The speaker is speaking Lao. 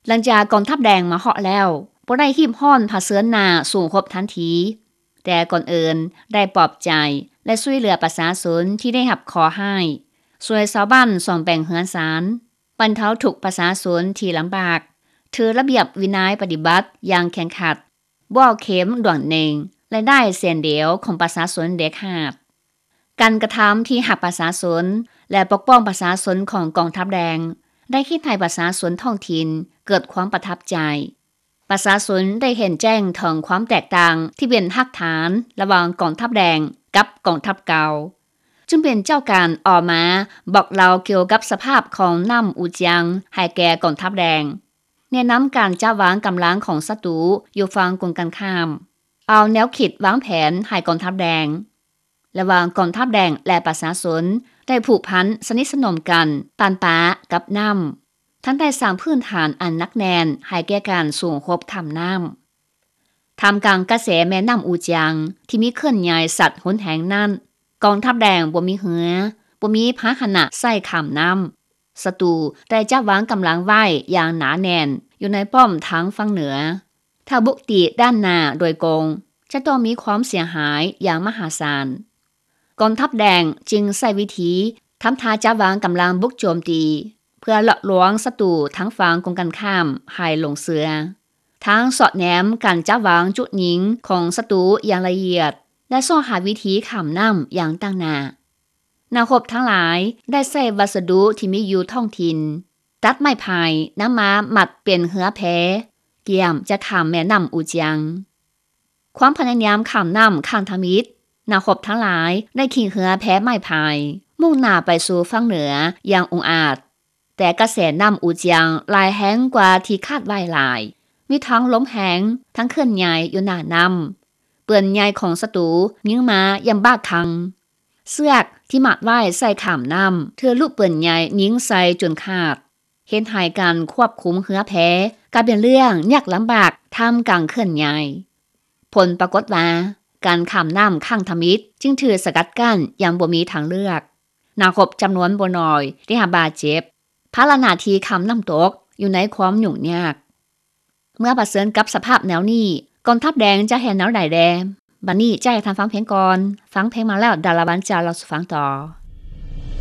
ຫຼັງຈາກກອງທັບແດງມາຮອດແລ້ວ ບໍ່ໄດ້ຮີບຮ້ອນຜະເຊີນໜ້າສູ້ຮົບທັນທີ, ແຕ່ກ່ອນອື່ນໄດ້ປອບໃຈ ແລະ ຊ່ວຍເຫຼືອປະຊາຊົນທີ່ໄດ້ຮັບເຄາະຮ້າຍ, ຊ່ວຍຊາວບ້ານສ້ອມແປງເຮືອນຊານ, ບັນເທົາທຸກປະຊາຊົນທີ່ລຳບາກ, ຖືລະບຽບວິໄນປະຕິບັດຢ່າງເຄັ່ງຄັດ, ບໍ່ເຂັມດວງເນັ່ງ ລາຍໄດ້ເສັ້ນດຽວຂອງປະຊາຊົນເດັດຂາດ. ການກະທຳທີ່ຮັກປະຊາຊົນ ແລະ ປົກປ້ອງປະຊາຊົນຂອງກອງທັບແດງ ໄດ້ເຮັດໃຫ້ປະຊາຊົນທ້ອງຖິ່ນເກີດຄວາມປະທັບໃຈ. ປະຊາຊົນໄດ້ເຫັນແຈ້ງເຖິງຄວາມແຕກຕ່າງທີ່ເປັນຮາກຖານລະຫວ່າງກອງທັບແດງກັບກອງທັບເກົ່າ, ຈຶ່ງເປັນເຈົ້າການອອກມາບອກເລົ່າກ່ຽວກັບສະພາບຂອງນ້ຳອູຈຽງໃຫ້ແກ່ກອງທັບແດງ, ແນະນຳການຈັດວາງກຳລັງຂອງສັດຕູຢູ່ຝັ່ງກົງກັນຂ້າມ, ເອົາແນວຄິດວາງແຜນໃຫ້ກອງທັບແດງ. ລະຫວ່າງກອງທັບແດງ ແລະ ປະຊາຊົນໄດ້ຜູກພັນສະໜິດສະໜົມກັນປານປາກັບນ້ຳ, ທັງໄດ້ສ້າງພື້ນຖານອັນໜັກແໜ້ນໃຫ້ແກ່ການສູ້ຮົບຂ້າມນ້ຳ. ທ່າມກາງກະແສແມ່ນ້ຳອູຈຽງທີ່ມີເຄື່ອນໃຫຍ່ສັດຮຸນແຮງນັ້ນ, ກອງທັບແດງບໍ່ມີເຮືອ, ບໍ່ມີພາຫະນະໃຊ້ຂ້າມນ້ຳ. ສັດຕູໄດ້ຈັດວາງກຳລັງໄວ້ຢ່າງໜາແໜ້ນຢູ່ໃນປ້ອມທາງຝັ່ງເໜືອ. ຖ້າບຸກຕີດ້ານໜ້າໂດຍກົງ, ຈະຕ້ອງມີຄວາມເສຍຫາຍຢ່າງມະຫາສານ. ກອງທັບແດງຈຶ່ງໃຊ້ວິທີທຳທ່າຈັດວາງກຳລັງບຸກໂຈມຕີ ເພື່ອຫຼອກລວງສັດຕູທາງຝັ່ງກົງກັນຂ້າມໃຫ້ຫຼົງເຊື່ອ, ທັງສອດແນມການຈັດວາງຈຸດຍິງຂອງສັດຕູຢ່າງລະອຽດ ແລະ ຊອກຫາວິທີຂ້າມນ້ຳຢ່າງຕັ້ງໜ້າ. ນັກຮົບທັງຫຼາຍໄດ້ໃຊ້ວັດສະດຸທີ່ມີຢູ່ທ້ອງຖິ່ນ, ຕັດໄມ້ໄຜ່ນຳມາມັດເປັນເຮືອແພ, ກຽມຈະຂ້າມແມ່ນ້ຳອູຈຽງ. ຄວາມພະຍາຍາມຂ້າມນ້ຳຄັ້ງທຳອິດ, ນັກຮົບທັງຫຼາຍໄດ້ຂີ່ເຮືອແພໄມ້ໄຜ່ ມຸ່ງໜ້າໄປສູ່ຝັ່ງເໜືອຢ່າງອົງອາດ, ແຕ່ກະແສນ້ຳອູຈຽງຫຼາຍແຮງກວ່າທີ່ຄາດໄວ້ຫຼາຍ, ມີທັງລົມແຮງ, ທັງເຄື່ອນໃຫຍ່ຢູ່ໜ້ານ້ຳ. ປືນໃຫຍ່ຂອງສັດຕູຍິງມາຢ່າງບ້າຄັ່ງ. ເຊືອກທີ່ມັດໄວ້ໃສ່ຂ້າມນ້ຳຖືກລູກປືນໃຫຍ່ຍິງໃສ່ຈົນຂາດ, ເຮັດໃຫ້ການຄວບຄຸມເຮືອແພກາຍເປັນເລື່ອງຍາກລຳບາກທ່າມກາງເຄື່ອນໃຫຍ່. ຜົນປາກົດວ່າ ການຂ້າມນ້ຳຄັ້ງທຳອິດຈຶ່ງຖືກສະກັດກັ້ນຢ່າງບໍ່ມີທາງເລືອກ. ນັກຮົບຈຳນວນບໍ່ໜ້ອຍໄດ້ຮັບບາດເຈັບ, ພາລະໜ້າທີ່ຂ້າມນ້ຳຕົກຢູ່ໃນຄວາມຫຍຸ້ງຍາກ. ເມື່ອປະເຊີນກັບສະພາບແນວນີ້, ກອງທັບແດງຈະເຮັດແນວໃດແດ່? ບັດນີ້ຈະໃຫ້ທ່ານຟັງເພງກ່ອນ. ຟັງເພງມາແລ້ວ ດາລາວັນຈະເລົ່າສູ່ຟັງຕໍ່.